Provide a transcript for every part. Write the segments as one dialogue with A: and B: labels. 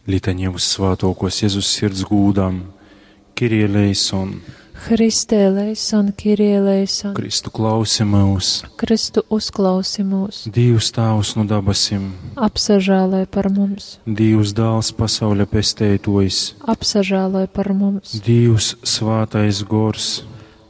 A: Litanija Vyssvātōkōs Jezus Sirds gūdam. Kyrie eleison.
B: Christe eleison, Kyrie eleison.
A: Kristu klausi myus.
B: Kristu uzklausi mūs.
A: Dīvs Tāvs nu dabasim.
B: Apsažāloj par mums.
A: Dīvs Dāls pasauļa pesteitōjs.
B: Apsažāloj par mums.
A: Dīvs Svātais Gors.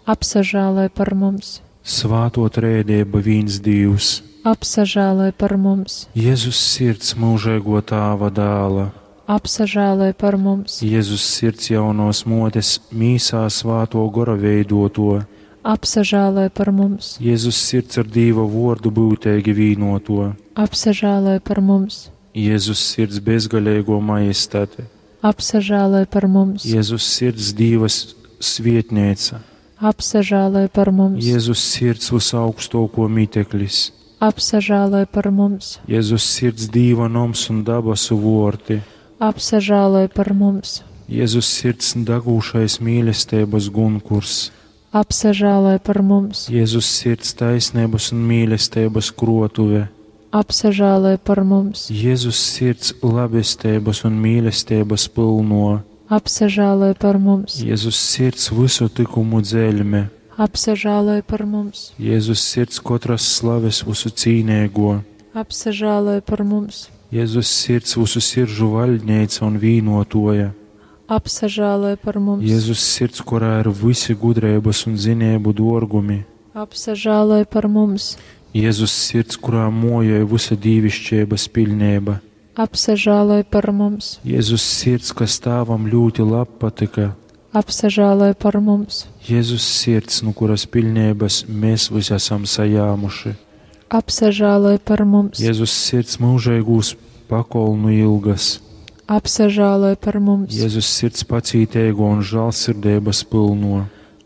B: Apsažāloj par mums.
A: Svātō Trēdeiba vīns Dīvs.
B: Apsažāloj par mums.
A: Jezus Sirds myužeigō Tāva dāla.
B: Apsažāloj par mums.
A: Jezus Sirds jaunōs mōtes mīsā Svātō Gora veidōtō.
B: Apsažāloj par mums.
A: Jezus Sirds ar Dīva vōrdu byuteigi vīnōtō.
B: Apsažāloj par mums.
A: Jezus Sirds bezgaleigō majestate.
B: Apsažāloj par mums.
A: Jezus Sirds Dīva svietneica.
B: Apsažāloj par mums.
A: Jezus Sirds vysaugstōkō miteklis.
B: Apsažāloj par mums.
A: Jezus Sirds Dīva noms un dabasu vōrti.
B: Apsažāloj par mums.
A: Jezus Sirds dagūšais mīlesteibas gunkurs.
B: Apsažāloj par mums.
A: Jezus Sirds taisneibas un mīlesteibas krotuve.
B: Apsažāloj par mums.
A: Jezus Sirds labesteibas un mīlesteibas pylno.
B: Apsažāloj par mums.
A: Jezus Sirds vysu tykumu dzeļme.
B: Apsažāloj par mums.
A: Jezus Sirds kotras slaves vysu cīneigo.
B: Apsažāloj par mums.
A: Jezus Sirds vysu siržu vaļdneica un vīnotoja.
B: Apsažāloj par mums.
A: Jezus Sirds, kurā ir visi gudreibas un zinību dōrgumi.
B: Apsažāloj par mums.
A: Jezus Sirds, kurā mojoj vysa dīvišķeibas piļneiba.
B: Apsažāloj par mums.
A: Jezus Sirds, kas Tāvam ļūti labpatyka.
B: Apsažāloj par mums.
A: Jezus Sirds, nu kuras piļneibas mēs visi esam sajāmuši.
B: Apsažāloj par mums.
A: Jezus Sirds mūžeigūs pakolnu ilgas.
B: Apsažāloj par mums.
A: Jezus Sirds pacīteigo un žālsirdeibas pylno.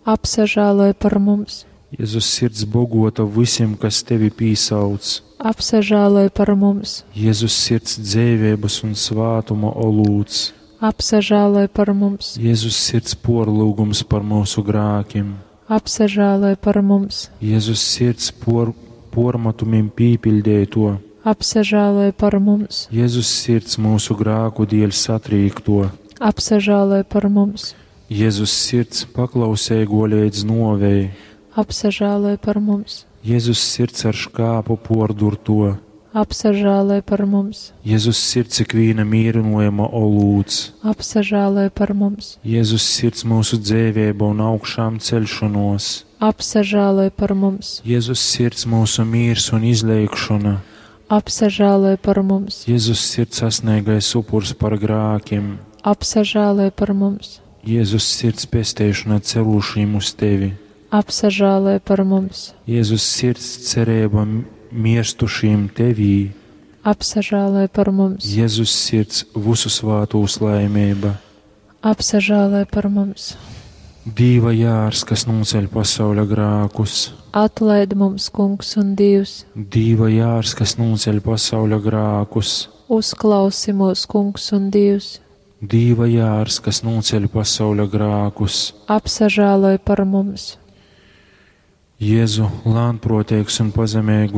B: Apsažāloj par mums.
A: Jezus Sirds bogota visiem, kas tevi pīsauc.
B: Apsažāloj par mums.
A: Jezus Sirds dzeiveibas un svātuma olūts.
B: Apsažāloj par mums.
A: Jezus Sirds porlūgums par mūsu grākim.
B: Apsažāloj par mums.
A: Jezus Sirds por, pormatumim pīpiļdēto.
B: Apsažāloj par mums.
A: Jezus Sirds mūsu grāku dēļ satrīkto.
B: Apsažāloj par mums.
A: Jezus Sirds paklauseigo līdz novei.
B: Apsažāloj par mums.
A: Jezus Sirds ar škāpu pordurto.
B: Apsažāloj par mums.
A: Jezus Sirds ikvīna mīrinojama olūts.
B: Apsažāloj par mums.
A: Jezus Sirds mūsu dzēvēba un augšām celšanos.
B: Apsažāloj par mums.
A: Jezus Sirds mūsu mīrs un izleikšana.
B: Apsažāloj par mums.
A: Jezus Sirds sasniegais upurs par grākiem.
B: Apsažāloj par mums.
A: Jezus Sirds pesteišana cerūšiem uz tevi.
B: Apsažāloj par mums.
A: Jezus Sirds cerība mirstušiem tevī.
B: Apsažāloj par mums.
A: Jezus Sirds visu svātūs laimība.
B: Apsažāloj par mums.
A: Dīva jārs, kas noceļ pasauļa grākus.
B: Atlaid mums, Kungs un Dievs.
A: Dīva jārs, kas noceļ pasauļa grākus.
B: Uzklausi mūs, Kungs un Dievs.
A: Dīva jārs, kas noceļ pasauļa grākus.
B: Apsažāloj par mums.
A: Jēzu, lānproteigs un pazemīgu